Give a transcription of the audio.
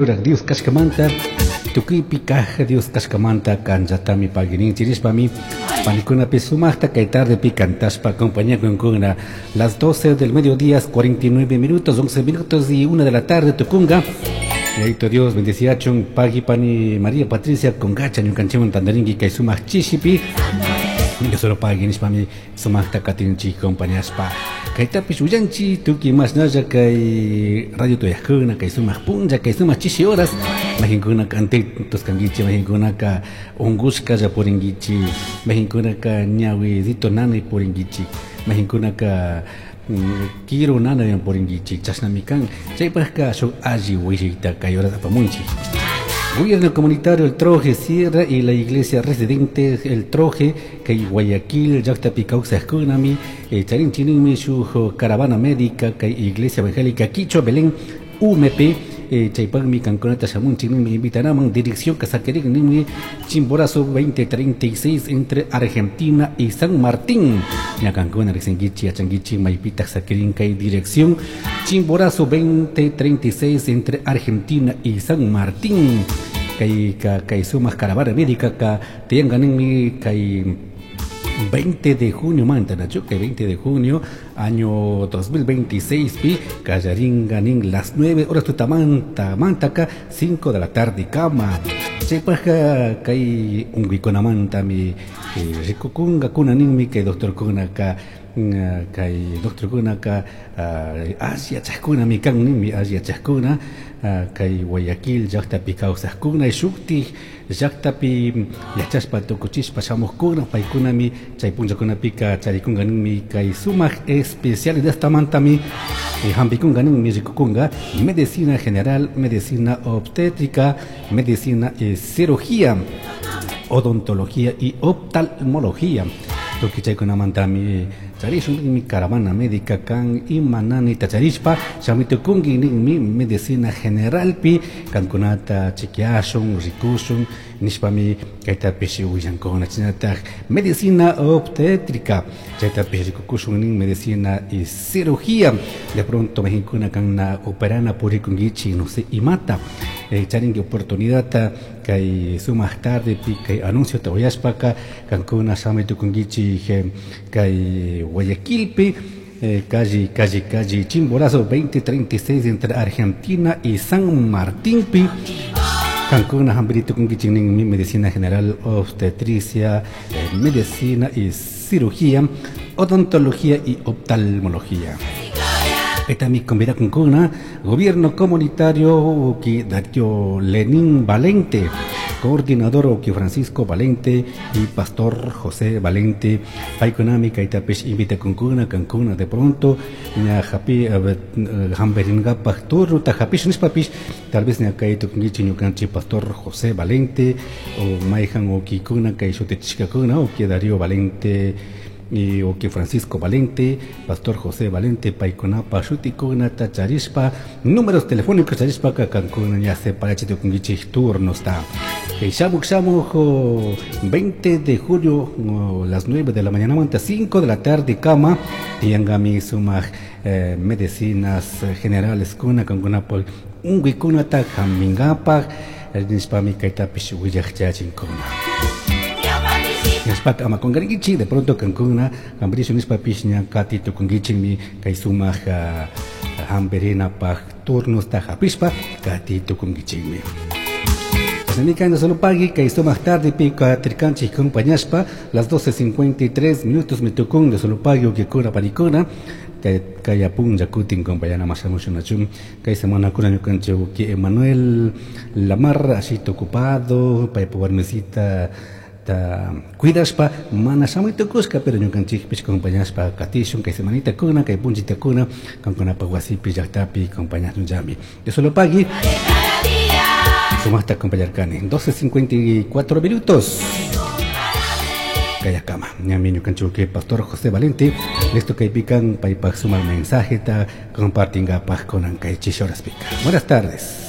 Ruraj Dios cashcamanta, tucuipi caj Dios cashcamanta canllatami pagui nishpami panicunapi sumajta kay tardepi cantashpa acompañakunkuna. Las 12 del mediodía, 49 minutos, 11 minutos y 1 de la tarde tucunga. Yayito Dios bendeciachun pagui pani María Patricia Congacha ñukanchikwan tantarinki kay sumaq chishipi. Solo pagui nishpami sumajta katinchik acompañashpa. Kaytapish willanchik tukuy mashnalla kay radio tuyajkuna kay sumaq punlla kay sumaq chishi horas mayqinkunaka atentos kankichik, mayqinkunaka unqushkalla purinkichik, mayqinkunaka ñawidito nanay purinkichik, mayqinkunaka kiru nanaywan purinkichik, chashnami kan. Chaypajka shuk alli willayta kay horas apamunchik. Gobierno Comunitario El Troje Sierra y la Iglesia Residente El Troje kay Guayaquil llaqtapi kawsaqkunami charinchikninmi shuk caravana médica kay Iglesia Evangélica Quichua Belén UMP chaypaqmi kankunata shamunchik ninmi invitanaman dirección Casaquerín ninmi Chimborazo 2036 entre Argentina y San Martín. Ña kankuna riqsinkichik yachankichik maypitaq saquirin kay dirección Chimborazo 2036 entre Argentina y San Martín. Kay kay sumaq caravana médica ka tiyanqa ninmi kay 20 de junio manta nachu kay 20 de junio año 2026 pi kallarinqa nin las 9 horas tutamanta mantaka 5 de la tarde kama. Chaypaqqa kay unquykunamantami rikukunkakuna ninmi kay doctorkunaka kay doctorkunaka alli yachaqkunami kan ninmi alli yachaqkuna kay Guayaquil llaqtapi kawsaqkuna shuktik llaqtapi yachashpa tukuchishpa shamuqkuna paykunami chay punllakunapika charikunka ninmi kay sumaq especialidadtamantami hampikunka ninmi rikukunka medicina general, medicina obstétrica, medicina y cirugía, odontología y oftalmología. Tukuy chaykunamantami charishun ninmi caravana médica kan ima nanayta charishpa shamitukunki ninmi medicina generalpi kankunata chequeashun rikushun nishpami kaytapish willankuna. Chaynataj medicina obstétrica chaytapish rikukushun nin medicina y cirugía. De pronto mayqinkuna kana operana purikunkichik no sé imata charinki oportunidadta kay sumaq tardepi kay anunciota uyashpaka kankuna shamitukunkichik kay Guayaquilpi calle calle calle Chimborazo 2036 entre Argentina y San Martín pi kankuna hampiritukunkichik ninmi medicina general, obstetricia, medicina y cirugía, odontología y oftalmología. Kaytami convidakunkuna Gobierno Comunitario que Darío Lenín Valente, coordinador Oki Francisco Valente y Pastor José Valente. Paykunami kaytapish invitakunkuna kankuna de pronto ña hapi hampiringapaq turnuta hapish nishpapish tal vez ña kay tukunkichik ñukanchik Pastor José Valente o mayjan ukikuna kay shutichishkakuna uki Darío Valente y uki Francisco Valente, Pastor José Valente, paykunapa shutikunata charishpa números telefónicos charishpaka kankuna ña separachitukunkichik turnosta. Kay shamuk shamuk 20 de julio las 9 de la mañana hasta 5 de la tarde kama tiyankami sumaq medicinas generales kuna kankunapaq unquykunata hampinkapak nishpami kaytapish willaqchachinkuna. Nishpaka ama qunqarinkichik de pronto kankuna hampirishun nishpapish ña kati tukunkichikmi kay sumaq hampirinapaq turnosta hapishpa kati tukunkichikmi. Chashnami solo pagui kay sumaq tardepi katirkanchik acompañashpa las 12:53 minutos mitukun de solo pagui ukikuna panikuna kay kay punlla kutin compañana mashamushunachun kay semana kuna ñukanchik uki Emanuel Lamar ashito ocupado paypa warmisita ta cuidashpa mana shamuy tukushka pero ñukanchikpish acompañashpa katishun kay semanita kuna kay punllita kuna kankunapaq wasipi llaqtapi acompañashunllami. De solo pagui sumaqta acompañarkani 12:54 minutos. Kayakama ñami ñukanchik Pastor José Valente listo kaypikan paypaq sumaq mensajeta compartingapaq kunan kay chishi horaspika. Buenas tardes.